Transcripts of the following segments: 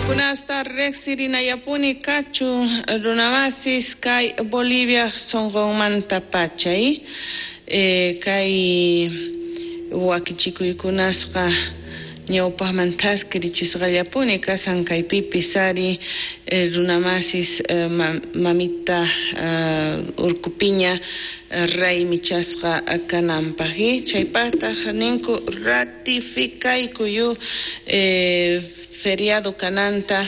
Chaykunasta riqsirinayapuni kachun, runamasis, kay Bolivia sonqonmanta pachay kay wakichikuykunasqa ñawpaqman thaskirichisqallapuni kasan kaypipis ari runamasis mamita Urkupiña raymichasqa kananpaq chaypaqtaq ninku ratificaykuyu feriado kananta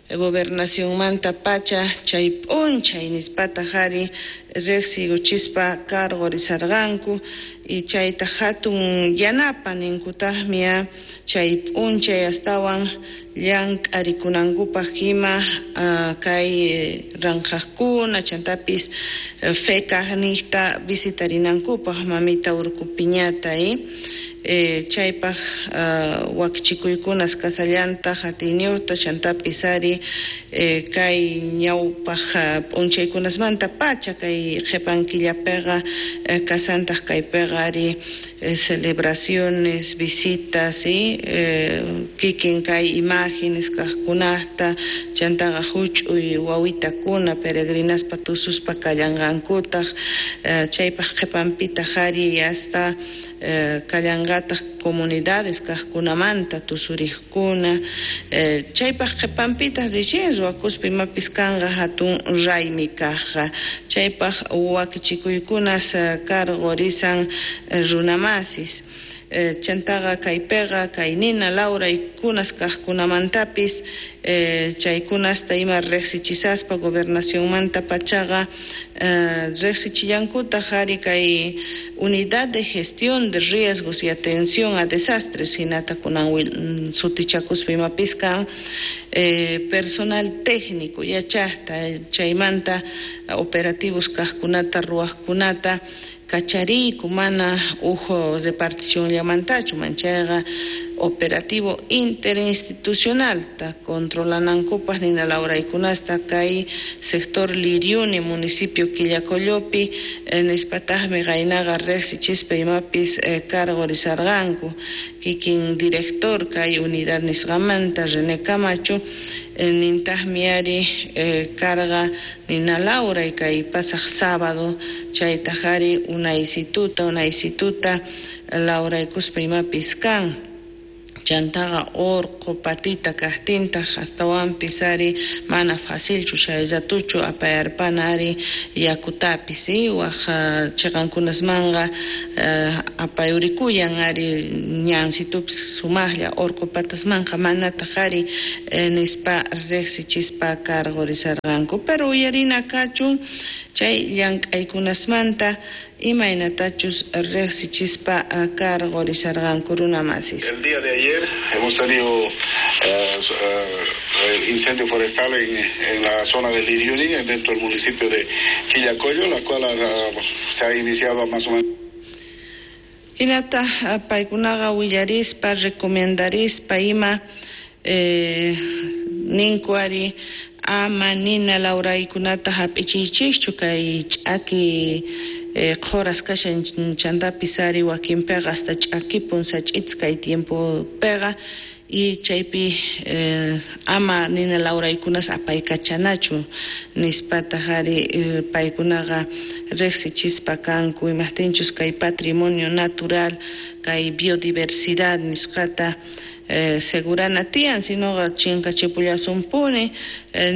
gobernacionmanta pacha chay p'unchay nispataq ari riqsiykuchispa cargorisarqanku y chayta hatun yanapa ninkutaqmi chay p'unchay astawan llank'arikunankupaq ima kay ranqhaqkuna chantapis fekaqniqta visitarinankupaq mamita Urkupiñata chaypaq wakichikuykunas kasallantaq atiyniyuqta chantapis ari kay ñawpaq p'unchaykunasmanta pacha kay qhipan killapiqa kasantaq kaypiqa ari celebraciones, visitas, kikin kay imágenes kaqkunata chantaqa huch'uy wawitakuna peregrinaspa tususpa kallanqankutaq chaypaq qhipanpitaq ari hasta kallanqataq comunidades kaqkunamanta tusuriqkuna chaypaq qhipanpitaq recién ruwakuspa imapis kanqa hatun raymi kaqqa chaypaq wakichikuykunas cargorisan runamasis chantaqa kaypiqa kay nina lawraykunas kaqkunamantapis chaykunasta ima riqsichisaspa gobernacionmanta pachaqa riqsichillankutaq ari kay unidad de gestión de riesgos y atención a desastres hinata kunan sutichakuspa imapis kan personal técnico yachaqta chaymanta operativos kaqkunata ruwaqkunata kachariyku mana uj reparticionllamantachu manchayqa operativo interinstitucionalta controlanankupaq nina lawraykunasta kay sector Liriuni municipio Quillacollopi nispataqmi qaynaqa riqsichispa imapis cargorisarqanku kikin director kay unidad nisqamanta René Camacho nintaqmi ari carga nina lawray kay pasaq sábado chaytaq ari unaysituta lawraykuspa imapis kan chantaqa urqu patita kaqtintaq astawanpis ari mana facilchu chay ratuchu apayarpana ari yakutapis waq chiqankunasmanqa apayurikuyan ari ñansitupis sumaqlla urqu patasmanqa manataq ari nispa riqsichispa cargorisarqanku pero uyarina kachun chay llank'aykunasmanta imaynatachus riqsichispa cargorisarqanku runamasis. El día de ayer hemos tenido incendio forestal en la zona de Liriuni, dentro del municipio de Quillacollo, la cual se ha iniciado más o menos. Hinata paykunaqa willarispa recomendarispa ima ninku ari ama nina lawraykunata hap'ichiychikchu kay ch'aki qhuras kashan chantapis ari wakinpiqa hasta ch'akipun sach'it's kay tiempopiqa y chaypi ama nina lawraykunas apaykachanachu nispataq ari paykunaqa riqsichispa kanku imaqtinchus kay patrimonio natural kay biodiversidad nisqata segurana tiyan sinoqa chinkachipullasunpuni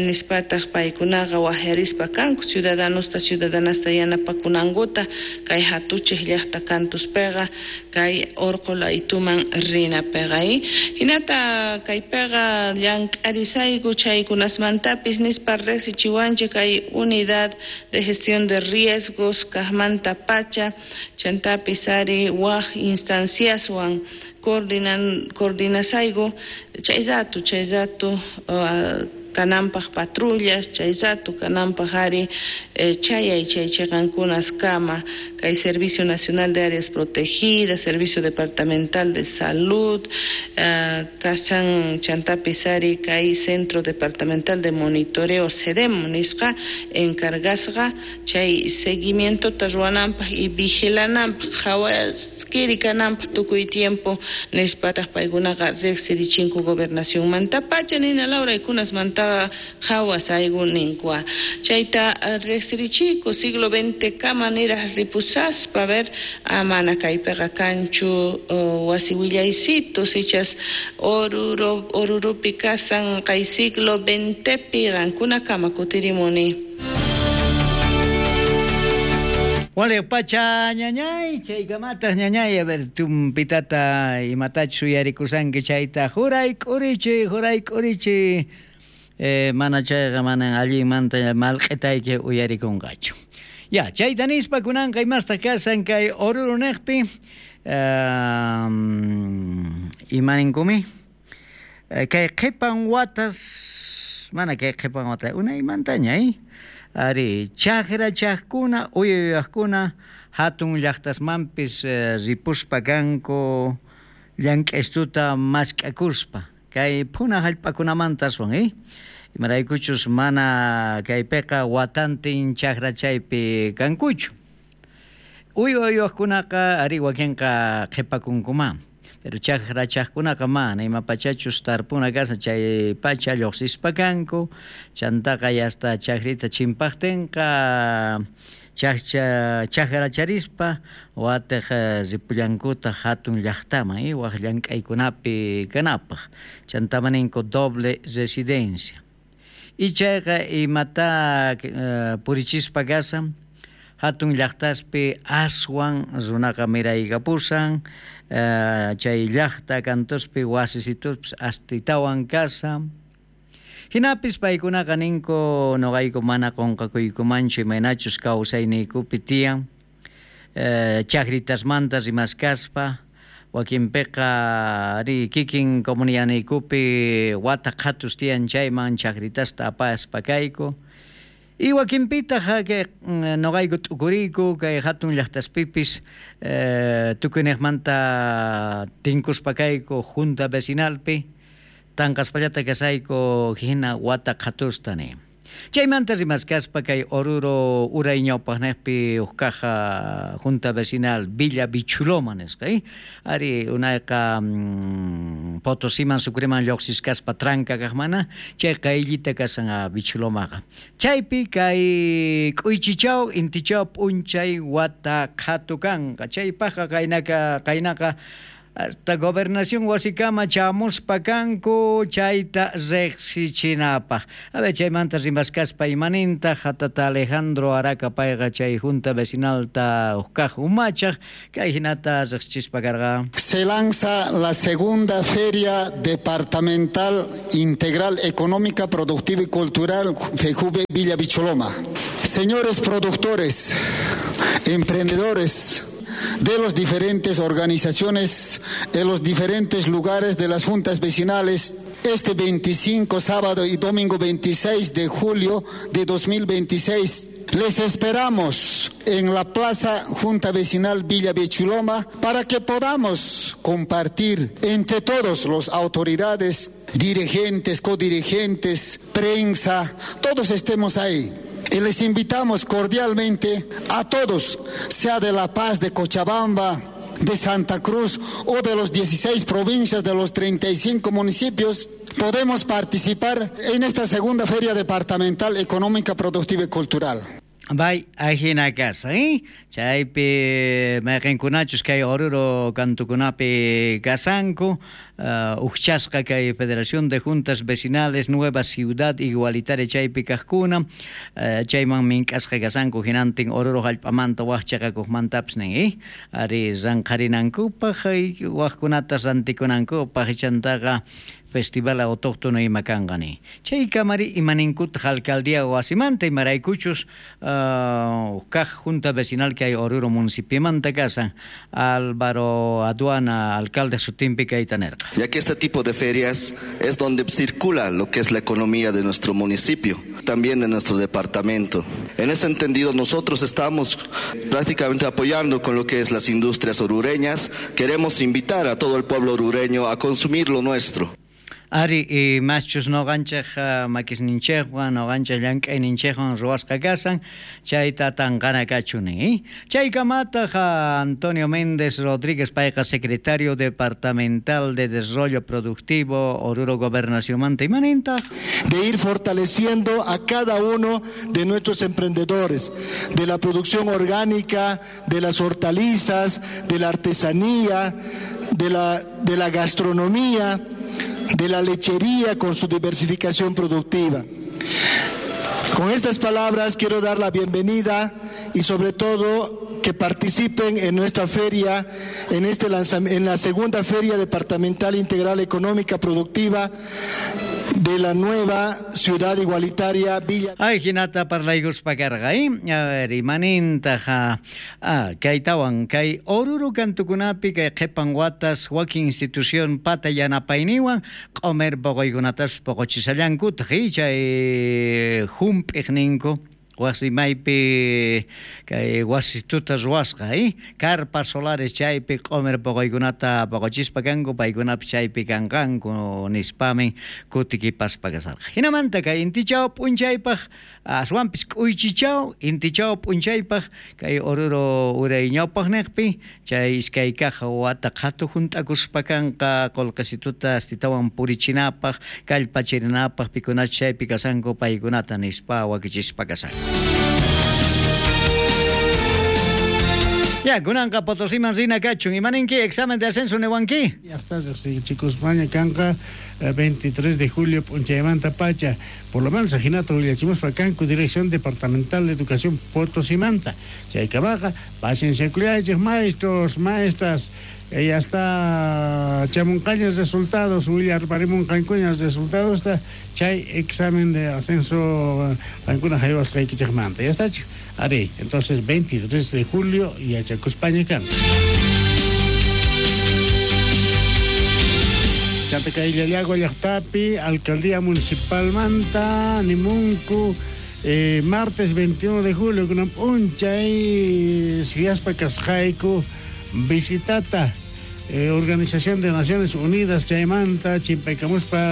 nispataq paykunaqa waqyarispa kanku ciudadanosta ciudadanasta yanapakunankuta kay hatuchiq llaqta kantuspiqa kay urqu laytuman rinapiqa hinata kaypiqa llank'arisayku chaykunasmantapis nispa riqsichiwanchik kay unidad de gestión de riesgos kaqmanta pacha chantapis ari waq instanciaswan coordinasayku chay rato Kananpaj patrullas chay rato kananpaj ari chayay chay cheqankunas kama kay Servicio Nacional de Áreas Protegidas, Servicio Departamental de Salud, kashan chantapis ari kay Centro Departamental de Monitoreo CEDEM nisqa encargasqa chay seguimientota ruwananpaj y vigilananpaj qhawaskiri kananpaj tukuy tiempo nispataq paykunaqa riqsirichinku gobernacionmantapacha nina Laura ykunasmantaqa qhawasayku ninkua chayta riqsirichiyku siglo XX kama niraj ripusaspa a ver mana kaypiqa kanchu wasi willaysitus ichas Oruro Orurupi kasan kay siglo XXpi qankunakama kutirimuni. Wale pacha ñañay, chaykamataq ñañay, a ver, tumpitata imatachus uyarikusanki chayta juray k'urichi, juray k'urichi, mana chayqa manan allinmanta malq'itayki uyarikunqachu. Ya, chayta nispa kunanqa imastaq kasan kay Oruro niqpi, imaninkumi, kay qhipan watas, mana kay qhipan wata, unaymantaña, ari chajrachajkuna, uyuyajkuna, hatun llaqtasmanpis ripuspa kanku llank'aystuta mask'akuspa, kay phuna hallp'akunamanta aswan, imaraykuchus mana kaypiqa watantin chajrachaypi kankuchu. Uywa uywaqkunaqa ari wakinqa qhipakunkuma, pero chajrachajkunaqa mana imapachachus tarpuna kashan chay pacha lluqsispa kanku, chantaqa hasta chajrita chimpaqtinqa chajracharispa watiq ripullankutaq hatun llaqtaman, waq llank'aykunapi kanapaq, chantama ninku doble residencia. Y chayqa imata purichispa kasan, hatun llaqtaspi aswan runaqa miraykapusan, chay llaqta kantuspi wasisituspis astitawan kasan. Hinapis paykunaqa ninku nuqayku mana qunqakuykumanchu imaynachus kawsayniykupi tiyan, chakritasmanta rimaskaspa, wakinpiqa ari kikin comunidaniykupi wata qhatus tiyan chayman chakritasta apaspa kayku. Y wakinpitaq kay nuqayku t'ukuriyku kay hatun llaqtaspipis tukuyniqmanta tinkuspa kayku junta vecinalpi, tanqaspallata kasayku hina wata qhatusta ni. Chaymanta rimaskaspa kay Oruro uray ñawpaqniqpi huk kaja junta vecinal Villa Bichuloma nisqa, ari unayqa Potosiman Sucreman lluqsiskaspa tranca kaqmana chay qayllita kasan Bichulomaqa. Chaypi kay k'uychichaw intichaw p'unchay wata qhatu kanqa, chaypaqqa qaynaqa hasta gobernación wasikama chamuspa kanku chayta riqsichinapaq. A ver, chaymanta rimaskaspa imanintaq hatata Alejandro Araca payqa chay junta vecinalta huk umachaq kay hinata riqsichispa karqa. Se lanza la segunda Feria Departamental Integral Económica, Productiva y Cultural FEJUVE Villa Bicholoma. Señores productores, emprendedores de las diferentes organizaciones, de los diferentes lugares de las juntas vecinales, este 25 sábado y domingo 26 de julio de 2026, les esperamos en la Plaza Junta Vecinal Villa Bechuloma para que podamos compartir entre todos los autoridades, dirigentes, codirigentes, prensa, todos estemos ahí. Y les invitamos cordialmente a todos, sea de La Paz, de Cochabamba, de Santa Cruz o de los 16 provincias de los 35 municipios, podemos participar en esta segunda Feria Departamental Económica, Productiva y Cultural. Bay, ajina kasa, Chaypi mayqinkunachus kay Oruro kantukunapi kasanku, ujchasqa kay Federación de Juntas Vecinales Nueva Ciudad Igualitaria chaypi kaqkuna, chayman mink'asqa kasanku hinantin Oruro hallp'amanta waq chaqakuqmantapis nin, ari ranqharinankupaq, waqkunata rantikunankupaq, chantaqa Festival Autóctono ima kanqa nin. Chaykamari imaninkutaj alcaldía wasimanta imaraykuchus kaq Junta Vecinal kay Oruro municipiomanta kasan Álvaro Aduana alcalde sutinpi kayta nerqa. Ya que este tipo de ferias es donde circula lo que es la economía de nuestro municipio, también de nuestro departamento. En ese entendido nosotros estamos prácticamente apoyando con lo que es las industrias orureñas. Queremos invitar a todo el pueblo orureño a consumir lo nuestro. Ari, imaschus noqanchej makisninchejwan, noqanchej llank'ayninchejwan ruwasqa kasan, chayta tanqana kachuni. Chaykamataq Antonio Méndez Rodríguez payqa secretario departamental de Desarrollo Productivo Oruro Gobernacionmanta imanintaq. De ir fortaleciendo a cada uno de nuestros emprendedores, de la producción orgánica, de las hortalizas, de la artesanía, de la gastronomía, de la lechería con su diversificación productiva. Con estas palabras quiero dar la bienvenida y sobre todo que participen en nuestra feria, en la segunda Feria Departamental Integral Económica Productiva de la nueva Ciudad Igualitaria Villa. Ay, hinata parlaykuspa karqa, A ver, imanintaj kaytawan kay Oruro kantukunapi kay qhipan watas wakin institución pata yanapayniwan q'umer poqoykunatas poqochisallankutaq, chay hump'iq ninku wasimaypi kay wasituta ruwasqa, carpas solares chaypi q'umer poqoykunata poqochispa kanku, paykunapi chaypi kanqanku nispamin kutikipaspa kasarqa. Hinamanta kay intichaw p'unchaypaq aswanpis k'uychichaw intichaw p'unchaypaq kay Oruro uray ñawpaqniqpi chay iskay kaq wata qhatu hunt'akuspa kanqa qullqisituta astitawan purichinapaq kallpachirinapaq pikunach chaypi kasanku paykunata nispa wakichispa kasanku. Ya, kunanqa Potosiman rina kachun. Imaninki examen de ascenso niwanki? Ya está, riqsichikuspaña kanqa 23 de julio p'unchaymanta pacha. Por lo menos ajinata willachimuspa kanku Dirección Departamental de Educación Potosimanta. Chaykabaqa, pacienciakullaychik maestros, maestras. Ya está chamunqañas resultados, willarparimunqankuñas resultados, chay examen de ascenso qankuna haywasqaykichikmanta. Ya está, ari, entonces 23 de julio yachakuspaña kan. Chanta kay Llallagua llaqtapi, Alcaldía Municipal Manta, Nimunku, martes 21 de julio, kunan p'unchay suyaspa kasqayku visitata Organización de Naciones Unidas chaymanta chimpaykamuspa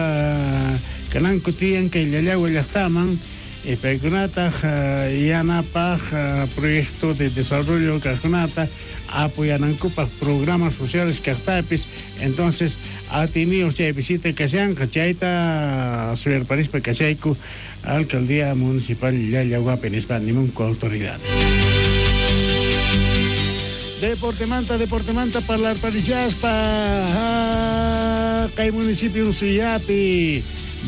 kananku tiyan kay Llallagua llaqtaman paykunataq yanapaq proyecto de desarrollo kaqkunata apoyanankupaq programas sociales kaqtapis. Entonces atiniyuq chay visita kashanqa chayta suyarparispa kashayku Alcaldía Municipal Llallaguapi nispa nimunku autoridades. Deportemanta parlarparishaspa kay municipio Suyapi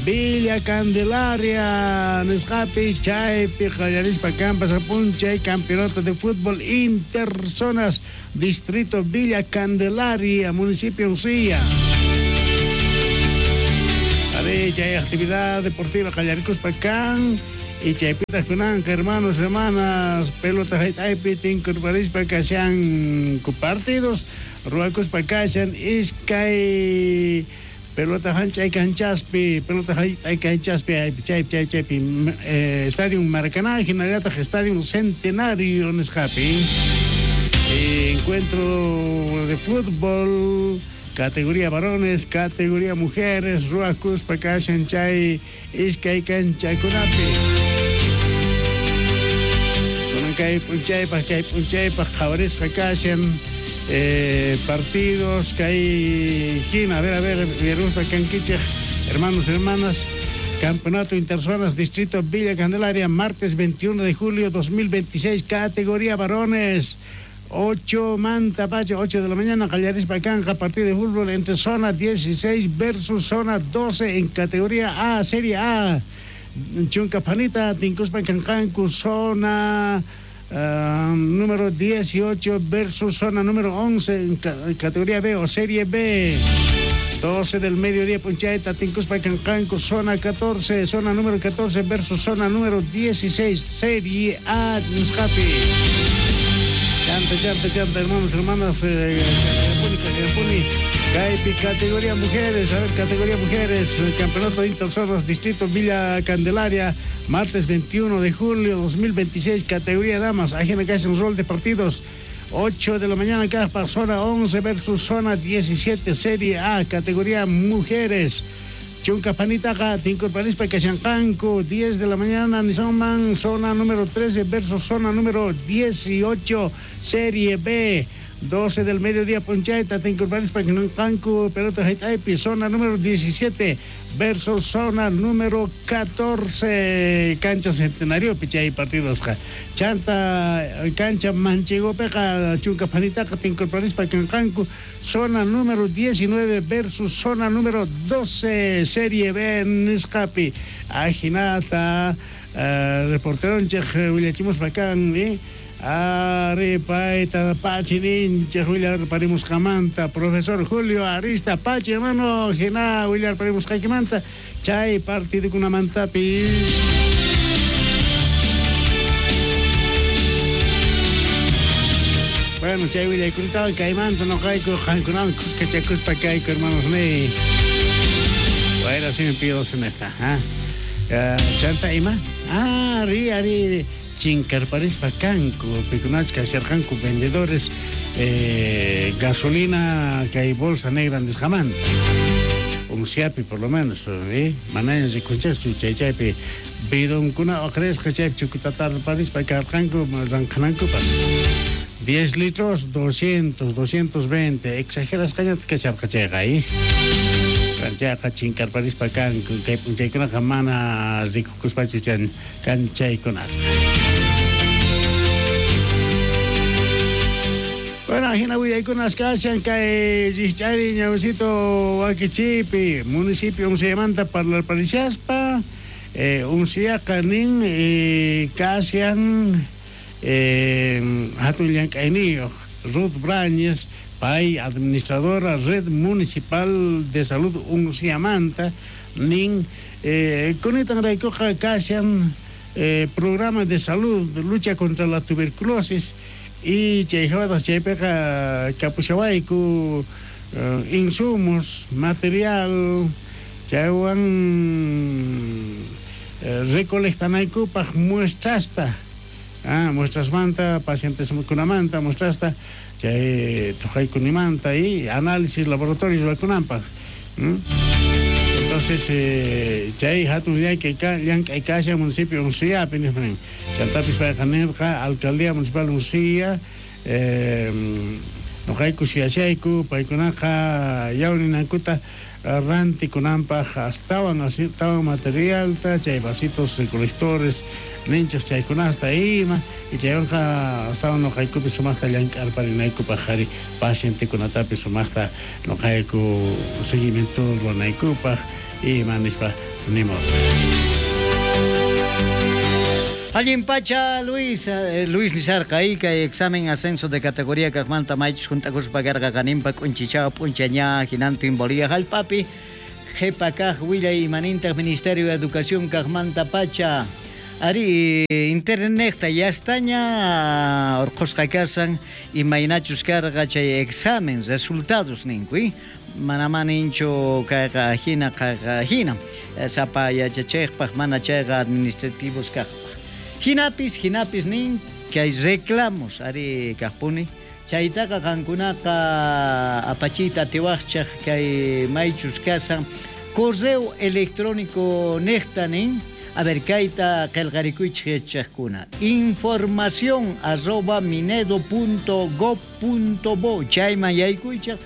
Villa Candelaria nisqapi chaypi qallarispa kampas p'unchay campeonato de fútbol interzonas distrito Villa Candelaria municipio Uncía. Ari chay actividad deportiva qallarikuspa kan y chaypitaq kunanqa hermanos, hermanas, pelota hayt'aypi tinkurparispa kashanku partidos ruwakuspa kashan iskay pelota hanchay kanchaspi, pelota hayt'ay kanchaspi chay chaypi Estadio Maracaná hinallataq Estadio Centenario nisqapi encuentro de fútbol categoría varones, categoría mujeres, ruwakuspa kashan chay iskay kanchakunapi. Kay p'unchaypaq qhawarisqa kashan partidos kay hina, a ver, viruspa kankichej, hermanos, hermanas, Campeonato Interzonas Distrito Villa Candelaria, martes 21 de julio 2026, categoría varones, 8 manta pacha, 8 de la mañana, qallarispa kanqa, partido de fútbol entre zona 16 versus zona 12 en categoría A, Serie A. Chunka Panita, tinkuspa kanqanku, zona número 18 versus zona número 11 en categoría B o Serie B. 12 del mediodía p'unchayta tinkuspa kanqanku zona 14, zona número 14 versus zona número 16, Serie A nisqapi. Chanta, chanta, chanta, hermanos, hermanas, kaypuni, kaypi, categoría mujeres, a ver, categoría mujeres, el campeonato de Interzonas, Distrito Villa Candelaria, martes 21 de julio 2026, categoría damas, ajena que hace un rol de partidos. 8 de la mañana acá para zona 11 versus zona 17, Serie A, categoría mujeres. Chunka panitaqa, tinkurparispa kashanqanku, 10 de la mañana, Nisonman, zona número 13 versus zona número 18, Serie B. 12 del mediodía, p'unchayta, tinkurparispa kashanqanku, pelota hayt'aypi, zona número 17 versus zona número 14, cancha Centenario, chay partidos. Chanta, cancha Manchegopeqa, chunka panitaqa, tinkurparispa kanqanku, zona número 19 versus zona número 12, Serie B, nisqapi. Ajinata, reporteronchej willachimuspa kan, Ari payta pachi ninchej willarparimusqamanta, profesor Julio Arista Pachi, hermano, jina willarparimusqaykimanta, chay partidukunamantapis. Bueno, chay willaykunatawan kaymanta noqayku qankunawan kuskachakuspa kayku, hermanos ni. Bueno, si me pido en esta, ¿ah? Chanta ima? Ah, ri, ari. Chinkarparispa kanku, pikunach kasharqanku vendedores gasolina kay bolsa negra nisqamanta. Unciapi por lo menos, manaña rikunchaschu chay chaypi bidonkuna oqrisqa chaypi chukutatarparispa karqanku ranqanankupas. 10 litros, 200, 220, exagerasqañata kasharqa chayqa, Chayqa chinkarparispa kanku, kay p'unchaykunaqa mana rikukuspachu kan chaykunasqa. Bueno, ajina willaykunas kashan kay rikch'ari ñawsito wakichiypi, municipio Unciamanta parlarparishaspa, Unciaqa nin kashan hatun llank'ayniyuq Ruth Brañez, pay administradora Red Municipal de Salud Unciamanta, nin kunitan raykuqa kashan programa de salud, lucha contra la tuberculosis, y chayjawatas chaypiqa kapushawayku insumos, material, chaywan recolectanaykupaq muestrasta, muestrasmanta, pacienteskunamanta, muestrasta, chay tuqaykunimanta y análisis laboratorios ruwakunanpaq. Entonces, chay hatun llank'ay kashan municipio Unciapi nispa. Chantapis payqa nirqa alcaldía municipal Uncia, noqayku suyashayku paykunaqa yawninankuta rantikunanpaq astawan materialta, chay vasitos recolectores ninchej chaykunasta ima, y chaywanqa astawan noqaykupi sumaqta llank'arparinaykupaq qhari pacientekunatapis sumaqta noqayku seguimiento ruwanaykupaq ima nispa nimurqa. Allin pacha, Luis, Luis nisarqa kay examen ascenso de categoría kaqmanta maychus junt'akuspa karqa qaninpa k'unchichawa p'unchaña hinantin Bolivia hallp'api qhipa kaq willay imanintaq Ministerio de Educación kaqmanta pacha. Ari internetta yastaña urqhusqa kasan imaynachus karqa chay examen resultados ninku, mana maninchu kayqa hina kayqa hina sapa yachachejpaq mana chayqa administrativos kaqpaq. Hinapis, hinapis nin que hay reclamos ari kaqpuni chaytaqa qankunaqa apachita atiwaqchaq kay maychus kasan correo electrónico niqta nin. A ver, kayta qillqarikuychik yachaqkuna. Información @minedo.gov.bo chayman yaykuychaq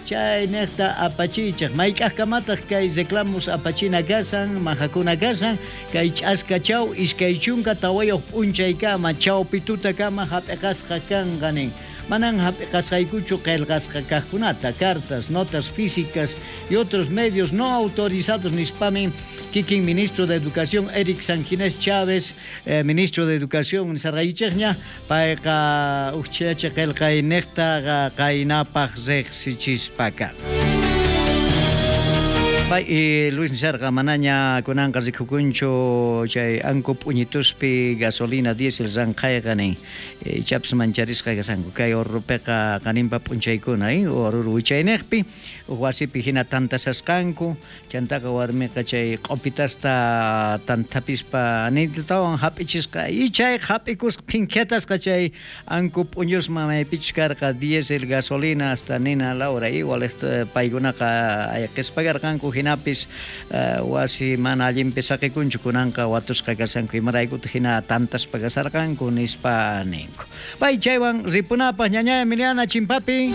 chay niqta apachichaq mayk'aqkamataq kay reclamos apachina kasan majakuna kasan kay ch'askachaw 24 p'unchaykama chawpitutakama hap'iqasqa kanqa nin. Manan hap'iqasqaykuchu qillqasqa kaqkunata, cartas, notas físicas y otros medios no autorizados nispamin kikin ministro de Educación Eric Sanginés Chávez, ministro de Educación nisarqaykichikña payqa uqchacha qillqayniqta qaynapaq riqsichispaka. Pay Luis nisharqa manaña kunanqa rikukunchu chay anku p'uñituspi gasolina diésel ranqhayqa nin. Ichapis mancharisqa kashanku kay Oruropiqa qaninpa p'unchaykuna Oruro wichayniqpi uj wasipi hina tantasasqanku chantaqa warmiqa chay q'opitasta tantapispa ninatawan hap'ichisqa y chay hap'ikusqa phinkhiatasqa chay anku p'uñusman maypichus karqa diésel gasolina hasta nina Laura igual paykunaqa ayqispa karqanku hinapis wasi mana allinpi saqikunchu kunanqa watusqa kashanku imaraykutaq hina tantaspa kasharqanku nispa ninku. Pay chaywan ripunapaq ñañaya Emiliana Chimpapi.